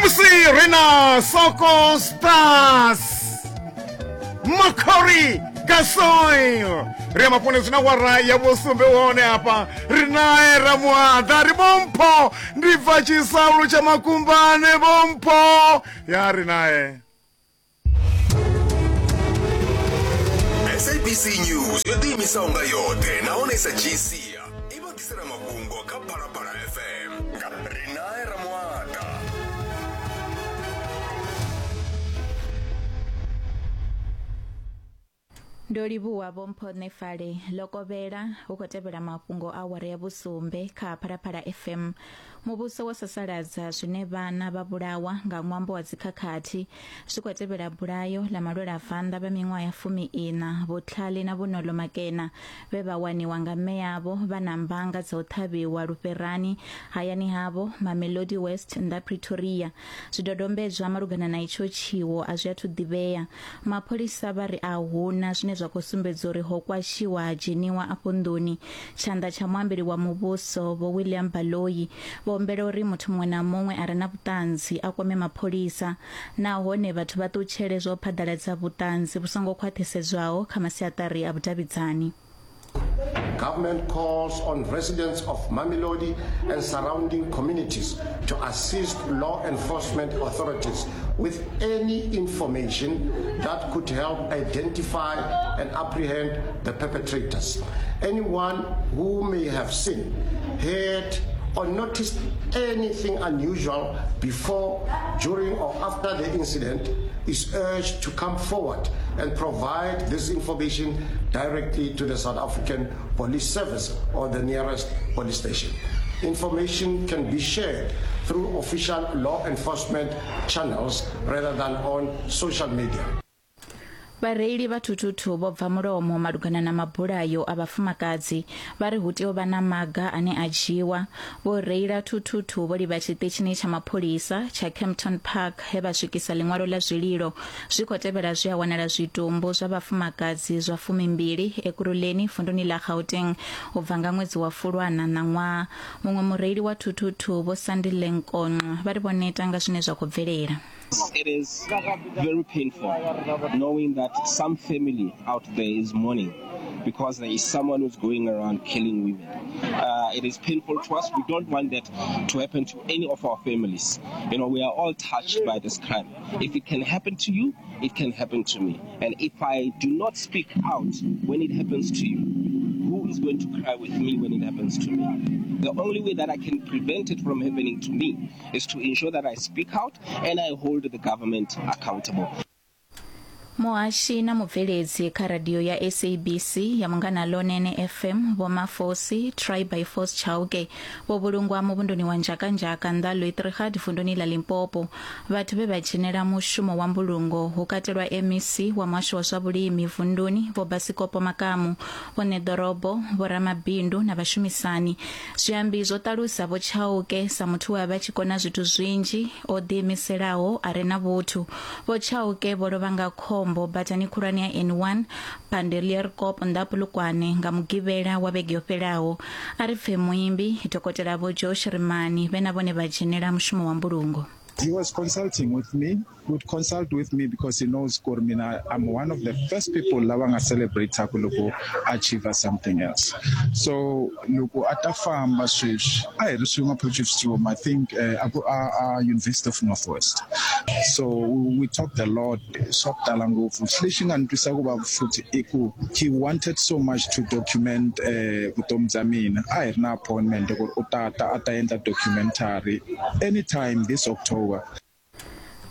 Ṋamusi ri na Soko Stars Makori Gasoil. Ri ya mafhungo zwina wara ya vhusumbe hone hafha ri nae Ramuaḓa ri Vhompho ndi bva Tshisaulu tsha Makumbane Vhompho ya ri nae. SABC News yo ḓiimisaho nga yoṱhe nahone i sa dzhii sia i vha ḓisela mafhungo kha Phalaphala FM nga Rinae Ramuaḓa. Ndo livhuwa Vho Mpho Nefale ḽo kovhela hu khou tevhela mafhungo a awara ya vhusumbe kha Phalaphala FM. Muvhuso wo sasaladza zwine vhana vha vhulawa nga ṅwambo wa dzikhakhathi zwi khou tevhela bulayo ḽa malwelavanḓa vha miṅwaha ya fumi-iṋa Vhutlhali na Vhunolo Makena vhe vha waniwa nga mme avho vha na mbanga dza u ṱhavhiwa lufherani hayani havho Mamelodi West nnḓa Pretoria. Zwidodombedzwa malugana na itsho tshiwo a zwi athu ḓivhea. Mapholisa vha ri a hu na zwine zwa khou sumbedza uri ho kwashiwa ha dzheniwa afho nḓuni. Tshanḓa tsha muambeli wa muvhuso Vho William Baloyi vho humbela uri muthu muṅwe na muṅwe a re na vhuṱanzi a kwame mapholisa nahone vhathu vha ṱutshele zwa u phaḓaladza vhuṱanzi vhu songo khwaṱhisedzwaho kha masiaṱari a vhudavhidzani. Government calls on residents of Mamelodi and surrounding communities to assist law enforcement authorities with any information that could help identify and apprehend the perpetrators. Anyone who may have seen, heard, or noticed anything unusual before, during, or after the incident is urged to come forward and provide this information directly to the South African Police Service or the nearest police station. Information can be shared through official law enforcement channels rather than on social media. Vhareili vha thuthuthu vho bva mulomo malugana na mabulayo a vhafumakadzi vha ri hu tea u vha na maga ane a dzhiwa. Vho reila thuthuthu vho livha tshiṱitshini tsha mapholisa tsha Kempton Park he vha swikisa ḽiṅwalo ḽa zwililo. Zwi khou tevhela zwe ha wanala zwitumbu zwa vhafumakadzi zwa fumimbili Ekurhuleni vunduni ḽa Gauteng u bva nga ṅwedzi wa Fulwana ṋaṅwaha. Muṅwe mureili wa thuthuthu Vho Sandile Nkonxa vha ri vho neta nga zwine zwa khou bvelela. It is very painful knowing that some family out there is mourning because there is someone who's going around killing women. Uh, it is painful to us. We don't want that to happen to any of our families. You know, we are all touched by this crime. If it can happen to you, it can happen to me. And if I do not speak out when it happens to you, who is going to cry with me when it happens to me? The only way that I can prevent it from happening to me is to ensure that I speak out and I hold the government accountable. Muhashi na mubveledzi kha radio ya SABC ya Munghana Lonene FM Vho Mafosi Try by Force Chauke vho vhulungwa muvhunduni wa Nzhakanzhaka nnḓa Luitrigat vunduni ḽa Limpopo. Vhathu vhe vha dzhenela mushumo wa mbulungo hu katelwa MEC wa muhasho wa zwa vhulimi vunduni Vho Basikopo Makamu, vho ṋeḓorobo, vho ramabindu na vhashumisani. Zwiambi zwo ṱalusa Vho Chauke sa muthu we a vha a tshi kona zwithu zwinzhi, o ḓiimiselaho, a re na vhuthu. Vho Chauke vho lovha nga khombo badani khulwane ya N1 Bandelierkop nnḓa ha Polokwane nga Mugivhela wa vhege yo fhelaho. A ri pfe muimbi, Dokotela Vho Joe Shirimani vhe na vhone vha dzhenela mushumo wa mbulungo. He was consulting with me would consult with me because he knows ku ri mina I'm one of the first people lava nga celebrate-aku loko achieve something else. So loko a ta famba sweswi a hi ri swin'we Potchefstroom I think uh, a ku a, a University of Northwest. So we talked a lot swa ku tala ngopfu. Lexi nga ni twisa ku vava futhi i ku he wanted so much to document uh, vutomi bya mina. A hi ri na appointment ku ri u ta ta a ta endla documentary anytime this October.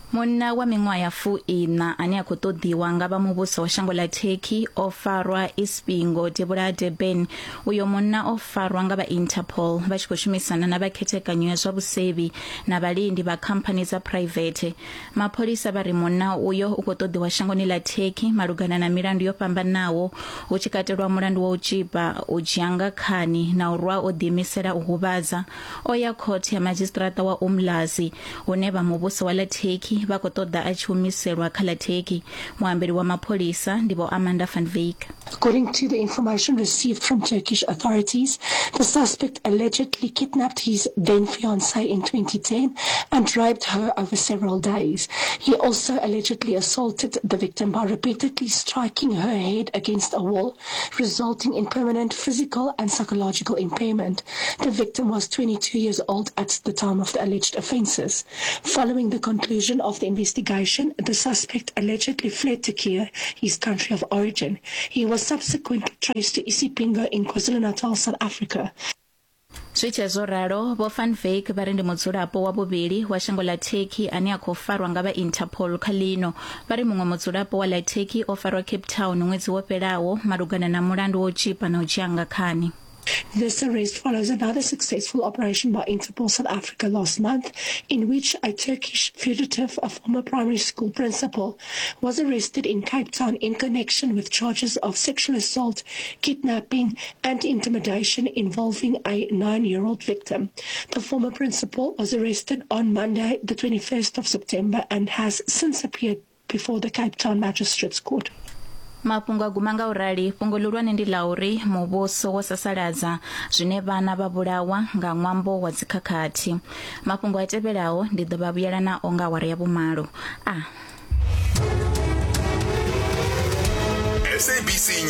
Munna wa miṅwaha ya fuiṋa ane a khou ṱoḓiwa nga vha muvhuso wa shango ḽa Turkey o farwa Isipingo devhula ha Durban. Uyo munna o farwa nga vha Interpol vha tshi khou shumisana na vha khethekanyo ya zwa vhusevhi na vhalindi vha khamphani dza phuraivethe. Mapholisa vha ri munna uyo u khou ṱoḓiwa shangoni ḽa Turkey malugana na milandu yo fhambanaho hu tshi katelwa mulandu wa u tzhipa, u dzhia nga khani na u rwa o ḓiimisela u huvhadza. O ya khothe ya madzhisiṱiraṱa wa Umlazi hune vha muvhuso wa ḽa Turkey vha khou ṱoḓa a tshi humiselwa kha ḽa Turkey. Muambeli wa mapholisa ndi Vho Amanda van Wyk. According to the information received from Turkish authorities, the suspect allegedly kidnapped his then fiancée in 2010 and raped her over several days. He also allegedly assaulted the victim by repeatedly striking her head against a wall, resulting in permanent physical and psychological impairment. The victim was 22 years old at the time of the alleged offences. Following the conclusion of the investigation, the suspect allegedly fled to Kia, his country of origin. He was subsequently traced to Isipingo in KwaZulu-Natal, South Africa. Zwi tshee zwo ralo, Vho Van Wyk vha ri ndi mudzulapo wa vhuvhili wa shango ḽa Turkey ane a khou farwa nga vha Interpol kha ḽino. Vha ri muṅwe mudzulapo wa ḽa Turkey o farwa Cape Town ṅwedzi wo fhelaho malugana na mulandu wa u tzhipa na u dzhia nga khani. This arrest follows another successful operation by Interpol South Africa last month, in which a Turkish fugitive, a former primary school principal, was arrested in Cape Town in connection with charges of sexual assault, kidnapping and intimidation involving a nine-year-old victim. The former principal was arrested on Monday, the 21st of September, and has since appeared before the Cape Town Magistrates Court. Mafhungo a guma nga u rali, fhungo ḽihulwane ndi ḽa uri muvhuso wo sasaladza zwine vhana vha vhulawa nga ṅwambo wa dzikhakhathi. Mafhungo a tevhelaho ndi ḓo vha vhuyela nao nga awara ya vhumalo. A. SABC.